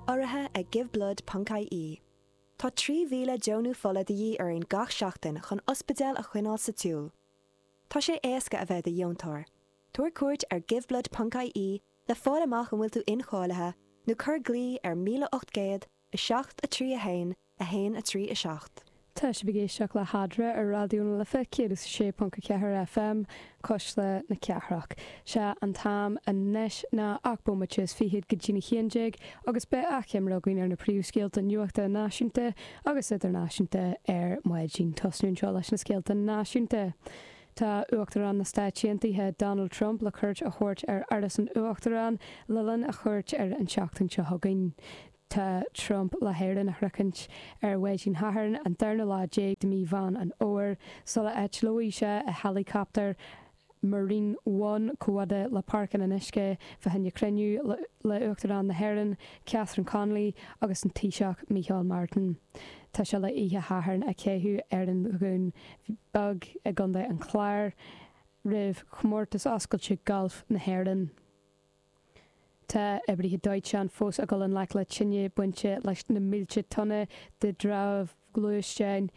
Urraithe ag Giveblood ponc ie. Tá 3,000 deonú fola de dhíth orainn gach seachtain chun ospidéil a choinneáil sa tsiúl. Tá sé éasca a bheith i do dheontóir. Tabhair cuairt ar giveblood ponc ie le fáil amach an bhfuil tú incháilithe nó cuir glao ar 1800 7 3 1 1 3 7. Tá sibh ag éisteacht le hEadra ar Raidió na Life 106.4 FM, Cuisle na Cathrach. Sé an t-am anois ná 8 bomaite is fichead go dtí'n 11 agus beidh achoimre againn ar na príomhscéalta nuachta náisiúnta agus idirnáisiúnta ar maidin. Tosnú anseo leis na scéalta náisiúnta. Tá Uachtarán na Stáit Aontaithe Donald Trump le cuairt a thabhairt ar Áras an Uachtaráin le linn a chuairt ar an tseachtain seo chugainn. Tá Trump le hÉirinn a shroichint ar mhaidin Shathairn, an darna lá déag de mí Mheán an Fhómhair, sula eitleoidh sé i héileacaptar Marine One chomh fhada le Páirc an Fhionnuisce fá choinne cruinniú le Uachtarán na hÉireann, Catherine Connolly agus an Taoiseach Micheál Martin. Tá sé le oíche Shathairn a chaitheamh ar an Dhún Beag i gContae an Chláir roimh Chomórtas Oscailte Gailf na hÉireann. Tá oibrithe dóiteáin fós ag dul i ngleic le tine bainte leis na mílte tonna de dhramhaíl ghluaisteáin.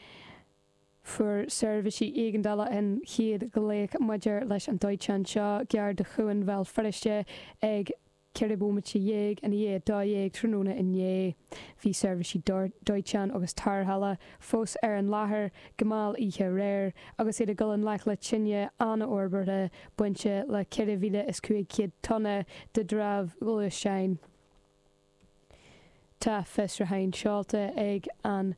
Fuair seirbhísí éigeandála an chéad ghlaoch maidir leis an dóiteán seo gar do Chuan Bhéal Feirste ag 14 bomaite i ndiaidh 12 tráthnóna inné. Bhí seirbhísí dóiteáin agus tarrthála fós ar an láthair go mall oíche aréir agus iad ag dul i ngleic le tine an-fhorbartha bainte le 4,500 tonna de dhramhaíl ghluaisteáin. Tá fiosrúchán seolta ag an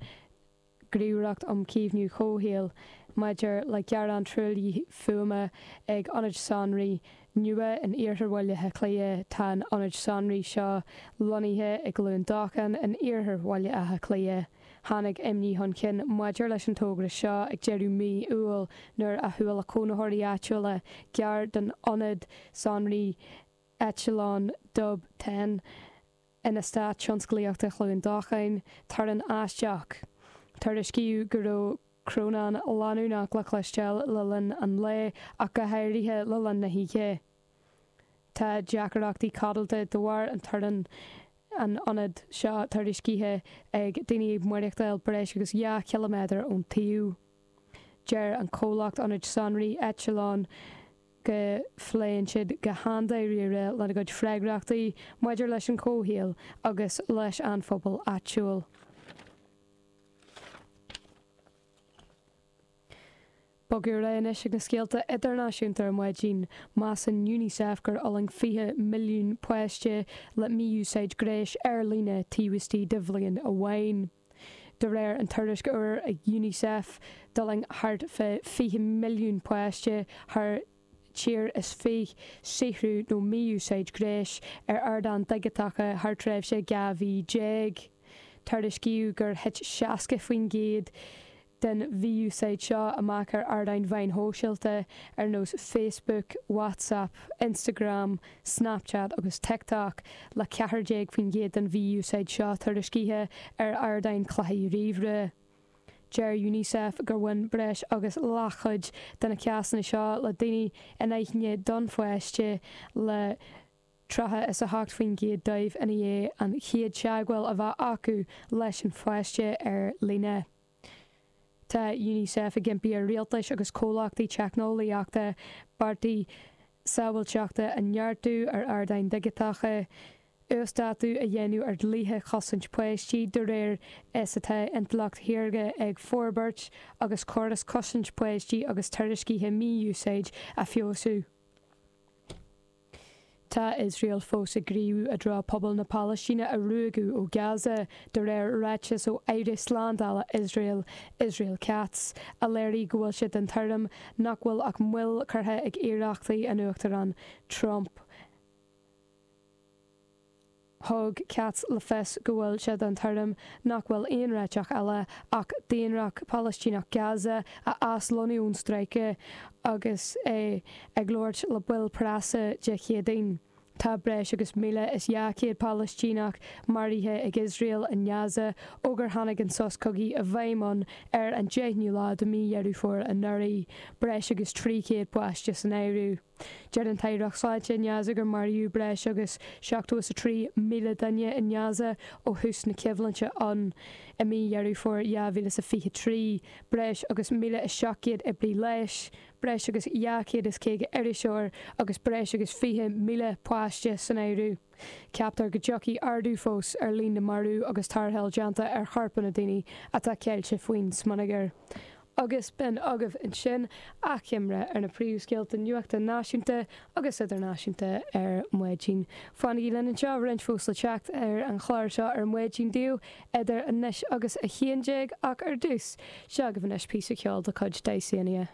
Ghníomhaireacht um Chaomhnú Comhshaoil maidir le gearán truaillithe fuaime ag ionad sonraí nua in iarthar Bhaile Átha Cliath. Tá an ionad sonraí seo lonnaithe i gCluain Dolcáin in iarthar Bhaile Átha Cliath. Tháinig imní chun cinn maidir leis an togra seo ag deireadh mí Iúil nuair a chuala cónaitheoirí áitiúla gar don ionad sonraí eitleán Dub Ten in Eastát Tionsclaíochta Chluain Dolcáin, torann aisteach. Tuairiscíodh go raibh crónán leanúnach le cloisteáil le linn an lae ach go háirithe le linn na hoíche. Tá deacrachtaí codlata de bharr an torainn an ionad seo tuairiscithe ag daoine ag maireachtáil breis agus 2 chiliméadar ón tsuíomh. Deir an comhlacht ionaid sonraí Echelon go bpléann siad go han-dáiríre lena gcuid freagrachtaí maidir leis an chomhshaol agus leis an phobal áitiúil. Bogadh ar aghaidh anois ag na scéalta idirnáisiúnta ar maidin. Measann Unicef gur fhulaing 20 milliún páiste le mí-úsáid gnéis ar líne taobh istigh de bhliain amháin. De réir an tuairisc úr ag Unicef, d'fhulaing thart fá 20 milliún páiste thar tír is fich saothrú nó mí-úsáid gnéis ar ardáin dhigiteacha thar tréimhse 12 mhí. Tuairiscíodh gur thit 60% den mhí-úsáid seo amach ar ardáin mheáin shóisialta ar nós Facebook, WhatsApp, Instagram, Snapchat agus TikTok, le 14% den mhí-úsáid seo tuairiscithe ar ardáin cluichí ríomhaire. Deir Unicef gur bhain breis agus leathchuid de na cásanna seo le daoine in aithne don pháiste, le 38% dóibh i ndiaidh an chéad teagmháil a bheith acu leis an pháiste ar líne. Tá Unicef ag impí ar rialtais agus comhlachtaí teicneolaíochta bearta sábháilteachta a neartú ar ardáin dhigiteacha, uasdátú a dhéanamh ar dhlíthe chosaint páistí de réir is atá intleacht shaorga ag forbairt agus córais cosaint páistí agus tuairiscithe mí-úsáid a feabhsú. Tá Iosrael fós ag gníomhú i dtreo pobal na Palaistíne a ruaigeadh ó Gaza, de réir ráiteas ó Aire Slándála Iosrael, Israel Katz, a léirigh go bhfuil sé den tuairim nach bhfuil ach moill curtha ag iarrachtaí an Uachtaráin Trump. Thug Katz le fios go bhfuil sé den tuairim nach bhfuil aon réiteach eile ach daonra Palaistíneach Gaza a aslonnú ón stráice agus é ag labhairt le baill preasa Dé Céadaoin. Tá breis agus 1,200 Palaistíneach maraithe ag Iosrael i nGaza ó gur tháinig an sos cogaidh i bhfeidhm ann ar an 10ú lá de mhí Dheireadh Fómhair anuraidh, breis agus 300 páiste san áireamh. Deir an tAireacht Sláinte i nGaza gur maraíodh breis agus 73,000 duine i nGaza ó thús na coimhlinte ann i mí Dheireadh Fómhair 2023, breis agus 1,700 oibrí leighis, breis agus 250 iriseoir agus breis agus 20,000 páiste san áireamh. Ceaptar go dtiocfaidh ardú fós ar líon na marbh agus tarrtháil déanta ar chorpanna daoine atá ceilte faoin smionagar. Agus b'in agaibh ansin achoimre ar na príomhscéalta nuachta náisiúnta agus idirnáisiúnta ar maidin. Fanaigí linn anseo, roinnt fós le teacht ar an chlár seo ar maidin daoibh idir anois agus 11 ach ar dtús, seo agaibh anois píosa ceoil de chuid Dysania.